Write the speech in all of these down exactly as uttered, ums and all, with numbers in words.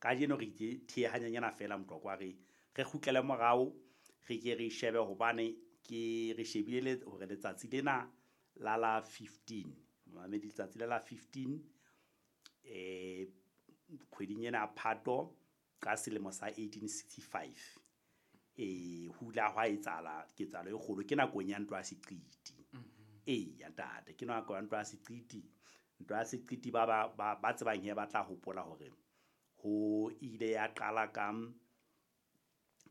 Kajeno re itse thiehanyanyana fela Motlokwa re re kgutlele morao re ke re shebe hobane ke re shebile hore letsatsi lena la la fifteen mamedi letsatsi la la fifteen eh kgweding ena Phato ka selemo sa eighteen sixty-five eh ho ile hwa etsahala ketsahalo e kgolo ke nakong ya ntwa ya Seqiti. E ya ntate ke nako ya ntwa ya Seqiti. Ntwa ya Seqiti ba ba ba tsebang he ba tla hopola hore ho ile ya qala ka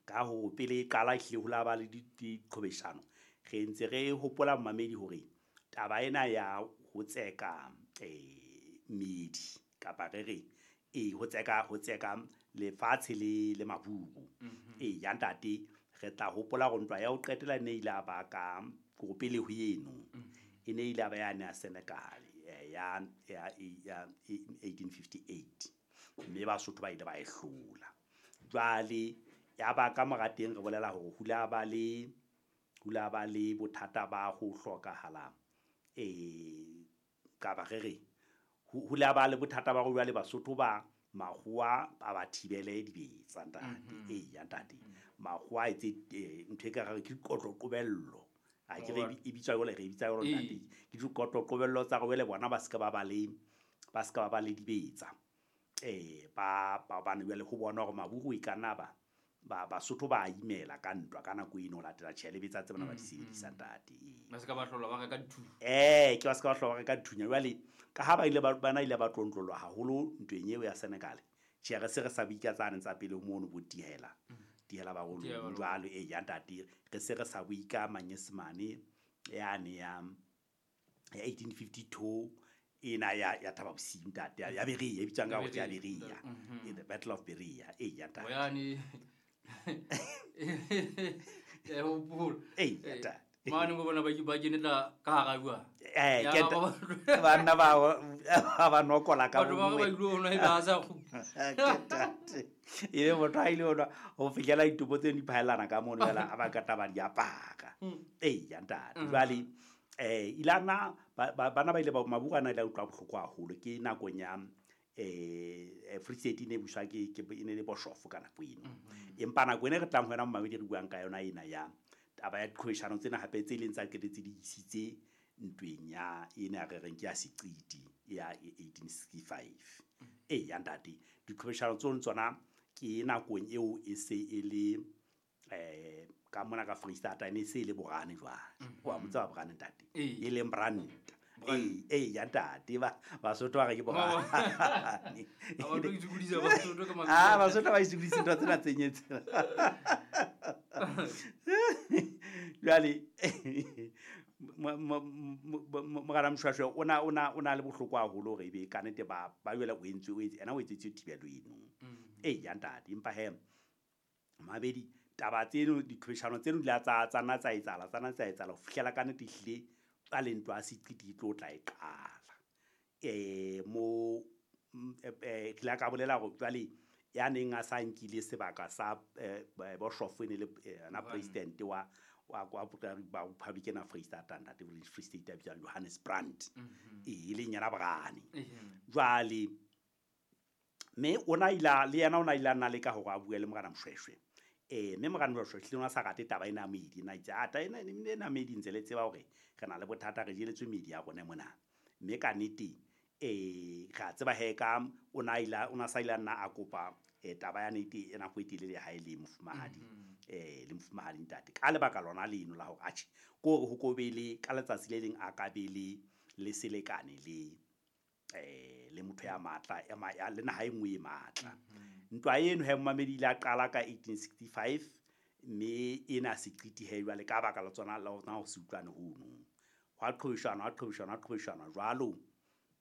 ka ho pele e qala ehlile ho la ba le diqhobeshano. Re ntse re hopola mamedi hore taba ena ya ho tseka eh medi kapa re re e ho tseka ho tseka lefatshe le le maburu. E ya ntate re tla hopola hore ntwa ya ho qetela e ne ile ya ba ka ko pele ho eno e ne ile ya ba yane ya Senegal ya ya ya eighteen fifty-eight mme Basotho ba ile ba e hlola. Jwale ya ba ka mora teng re bolela hore ho la ba le ho la ba le bothata ba ho hlokahala eh ka ba re re ho la ba le bothata ba go jwale Basotho ba makgowa ba ba thibele dibetsa ntate. E ya ntate makgowa a etse ntho e ka re ke dikotlo qobello a ke re e bitswa jwale re bitsa jwalo ntate ke dikotlo qobello tsa go wele bona ba ska ba ba le ba ska ba ba le dibetsa eh ba ba bana jwale ho bona hore maburu e kana ba ba Basotho ba imela ka ntwa ka nako eno latela tjhe betsa tse bona ba di sebedisa ntate. Ba ska ba hlola ba reka dithunya. Eh ke ba ska ba hlola ba reka dithunya jwale ka ha ba ile ba bana ile ba tlontlolwa haholo ntweng eo ya Senegal. Tjhe re se re sa bika tsane tsa pele mono bo tihela tihela ba rolo jwalo e ya ntate re se re sa buika manyesemane yane ya ya eighteen fifty-two ena ya ya Thaba Bosiu ntate ya Berea e bitswang ka hore ya Berea in the Battle of Berea e ya ntate yane e hopola e ya ntate mane mo bona ba ba kenela ka hara bua eh ke banna ba ba nokola ka bo ba ba ile ona e ba sa go e le motho a ile ona ho fihlela ditopo tse di phaelana ka mono fela a ba ka taba di apaka e ya ntate jwale eh ilana bana ba ile ba maburu ana ile utlwa bohloko haholo ke nakong ya eh Free State ne buswa ke ke ene le Boshof ka nako eno. Empa nako ene re tlang ho yona mamedi re buang ka yona ena ya taba ya diqhobeshano tsena hape tse leng tsa qetetse di isitse ntweng ya ena re reng ke ya Seqiti ya eighteen sixty-five. E ya ntate diqhobeshano tsona tsona ke nakong eo e se e le eh ka mona ka Free State ene se le Borane jwale. Wa motsa Borane ntate e leng Brand e e ya ntate ba Basotho ba re ke Borane. Ba tlo itshukudisa Basotho ka mabitso. Ah Basotho ba itshukudisa ntho tsena tse nyetse. Jwale Morena Mshwashwe ona ona ona le bohloko haholo hore ebe ka nete ba ba jwale o entswe o ena o etsetse thibelo eno. E ya ntate empa he mabedi taba tseno diqhobeshano tseno di la tsa tsana tsa etsahala tsana tsa etsahala ho fihlela ka nete ehlile ka lentwa a Seqiti tlo tla e qala. Eh mo eh ke la ka bolela hore jwale ya neng a sa nkile sebaka sa Boshof ene le na president wa wa wa Republican of Free State ntate Free State ya Johannes Brandt e leng yena Borane. Jwale me ona ila le yena ona ila nna le ka hore a bue le Morena Mshweshwe. Eh mme Morena Mshweshwe hlile ona sa rate taba ena medi na itse ata ena ena medi ntse le tseba hore re na le bothata re jeletswe medi ya rona mona. Mme ka nnete eh ra tseba he ka ona ila ona sa ila nna a kopa eh taba ya nete ena go etelele ha ile mofumahadi eh le mofumahadi ntate ka lebaka lona leno la hore atjhe ko hore ho kobele ka letsatsi le leng a ka bele le selekane le eh le motho ya matla ya le naha e nngwe e matla. Ntwa eno he mamedi ile a qala ka eighteen sixty-five mme ena Seqiti he jwale ka baka la tsona la ho se utlwane hono hwa qhobeshana hwa qhobeshana hwa qhobeshana jwalo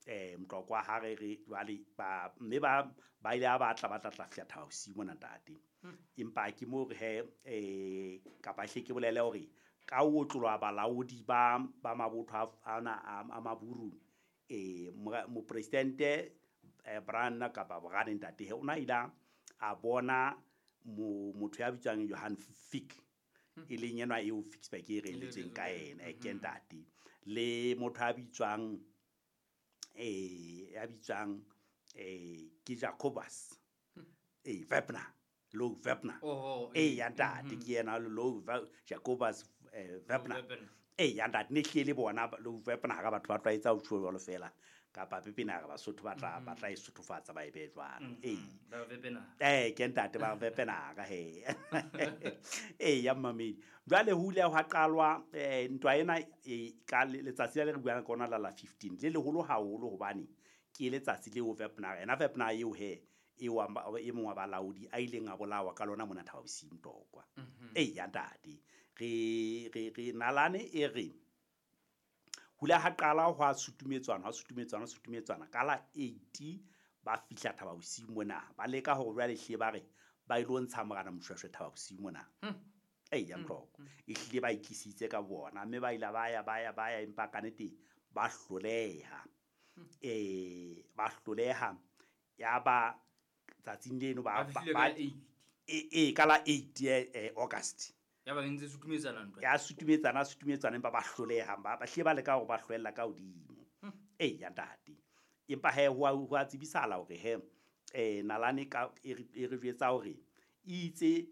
eh Motlokwa ha re re jwale ba mme ba ba ile ba batla ba tla tla fihla Thaba Bosiu mona ntate. Empa ke mo re he eh kapa hle ke bolele hore ka o tlolwa balaodi ba ba mabotho ana a maburu eh mo presidente Brand kapa Borane ntate he ona ila a bona motho ya bitswang Johan Fick e leng enwa eo Ficksburg e reletseng ka ena e ke ntate le motho ya bitswang eh ya bitswang eh ke Jacobus Wepener Louw Wepener Oho, ee ya ntate ke yena Louw Jacobus Wepener ee ya ntate ne hlile le bona Louw Wepener ga batho ba tlwaetsa ho tjho jwalo fela kapa pepena ga Basotho ba tla ba tla e sothofatsa ba e be jwalo ee Ba Wepener eh ke ntate ba Wepener ka he ee ya mmamedi jwale ho ile hwa qalwa eh ntwa ena ka letsatsi le re buang ka ona la la fifteen le leholo haholo hobane ke letsatsi leo Wepener ena Wepener eo he e wa e mongwe wa balaodi a ileng a bolawa ka lona mona Thaba Bosiu Mtokwa ee ya ntate re re re nalane e re hula ha qala hwa sutumetswana hwa sutumetswana sutumetswana ka la eight ba fihla Thaba Bosiu mona ba leka hore jwale hle ba re ba ilo ntsha morena Moshoeshoe Thaba Bosiu mona ee ya Mtloko e hlile ba ikisitse ka bona mme ba ile ba ya ba ya ba ya empa ka nnete ba hloleha eh ba hloleha ya ba tsatsing leno ba ba e ka la eight August ya ba ntse sutumetsana ntwa ya sutumetsana sutumetsana empa ba hloleha ba ba hle ba leka hore ba hloella ka hodimo ee ya ntate empa he ho a tsebisala hore he eh nalane ka e re jwetsa hore itse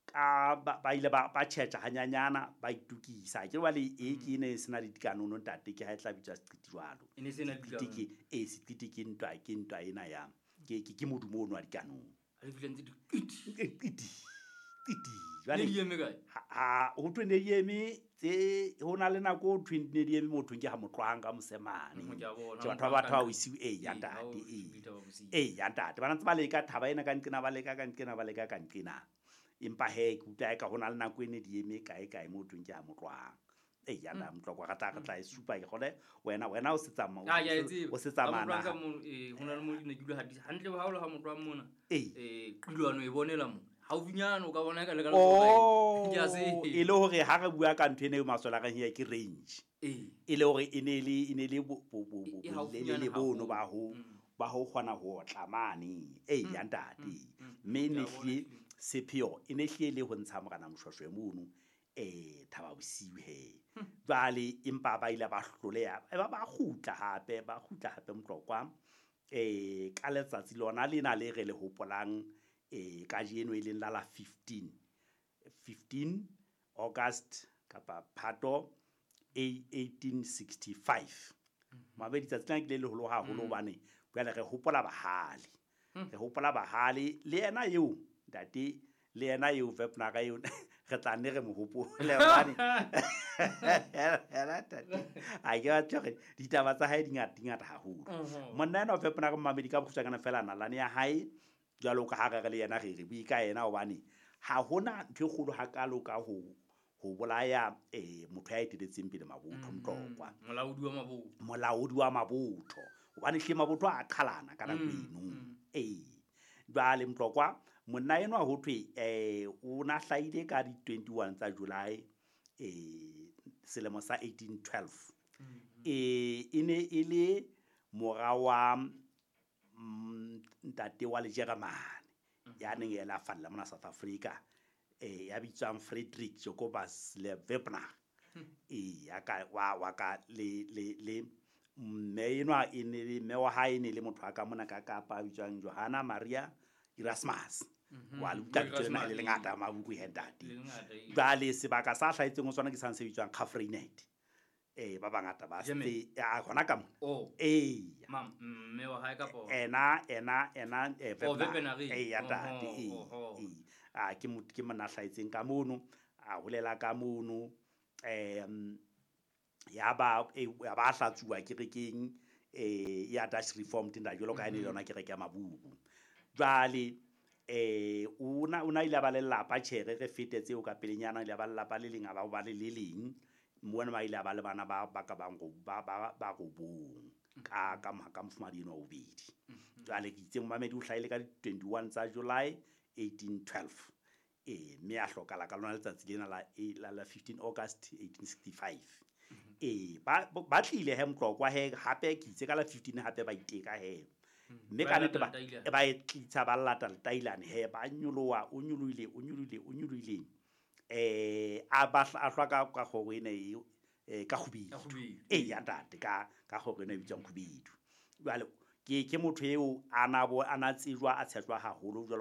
ka ba ile ba ba tjhetja hanyanyana ba itukisa ke jwale e ke ne sena le dikanono ntate ke ha e tla bitswa seqiti jwalo e ne sena dikanono e seqiti ke ntwa ke ntwa ena ya ke ke ke modumo ono wa dikanono a le fihla ntse di qiti qiti qiti jwale di eme kae ha ho thwe ne di eme tse ho na le nako ho thwe ne di eme motho ke ha motlwang ka mosemane ke batho ba batho ba o isiwe e ya ntate e ya ntate ba ntse ba leka thaba ena ka nqena ba leka ka nqena ba leka ka nqena empa he ke utlwa ka hona le nako ene di eme kae kae motho ke ha motlwang e ya nda Mtloko ga tla re tla e supa ke gole wena wena o se tsamaya o se tsamaya na eh hona le mo di ne ke dula hantle ha o le ha motlwang mona eh qilwano e bonela mo haufinyana o ka bona ka le ka le ke a se e le hore ha re bua ka ntho ene e maswela reng ya ke range e le hore e ne le e ne le bo bo bo le le bono ba ho ba ho kgona ho otla mane e ya ntate mme ne hle sepheo e ne hle le ho ntsha morena Moshoeshoe mono eh Thaba Bosiu he jwale empa ba ile ba hloleha ba ba kgutla hape ba kgutla hape Mtlokwa eh ka letsatsi lona lena le re le hopolang eh kajeno e leng la la fifteen fifteen August kapa Phato eighteen sixty-five mabedi tsatsi lena ke le leholo haholo hobane jwale re hopola bahale re hopola bahale le yena eo ntate le yena eo Wepener eo re tla nne re mo hopole hobane a ke batle hore ditaba tsa hae di ngata di ngata haholo monna ena wa Wepener mmamedi ka bokgutshwanyane fela nalane ya hae jwalo ka ha re le yena re re bue ka yena hobane ha hona ntho e kgolo hakalo ka ho ho bolaya eh motho ya eteletseng pele mabotho Mtlokwa molaodi wa mabotho molaodi wa mabotho hobane hle mabotho a qhalana ka nako eno ee jwale Mtlokwa monna enwa ho thwe eh o na hlahile ka di twenty-one tsa July eh selemo sa eighteen twelve eh e ne e le mora wa ntate wa Lejeremane ya neng e la falla mona South Africa eh ya bitswang Frederick Jacobus le Wepener eh ya ka wa wa ka le le le mme enwa e ne le mme wa hae ne le motho wa ka mona ka Kapa bitswang Johanna Maria Erasmus wa le utlwa lebitso lena le lengata mabuku he ntate jwale sebaka sa hlahetseng ho sona ke sang se bitswang Graaff-Reinet eh ba bangata ba se a hona ka mona eh mam mme wa hae kapa ena ena ena eh eh ya ntate eh a ke motho ke mona hlahetseng ka mono a holela ka mono eh ya ba ya ba hlatsuwa kerekeng eh ya Dutch Reformed nda jwalo ka ene le yona kereke ya Mabuku jwale eh una una ile ba lelapa tjhere re fetetse o ka pelenyana ile ba lelapa le leng a ba ba le le leng mona ba ile ba le bana ba ba ka bang ba ba ba robong ka ka ka mofumadi eno wa bobedi jwale ke itse momamedi o hlahile ka twenty-one tsa July eighteen twelve eh mme a hlokala ka lona letsatsi lena la la la fifteen August eighteen sixty-five eh ba ba tlile he Mtlokwa he hape ke itse ka la fifteen hape ba iteka he mme ka nnete ba ba e tlitsa ba lata letailane he ba nyoloha o nyolohile o nyolohile o nyolohile eh a ba a hlwa ka ka kgoro ena e ka kgubedu e ya ntate ka ka kgoro ena e bitswang kgubedu jwale ke ke motho eo a na bo a na tsejwa a tshejwa haholo jwalo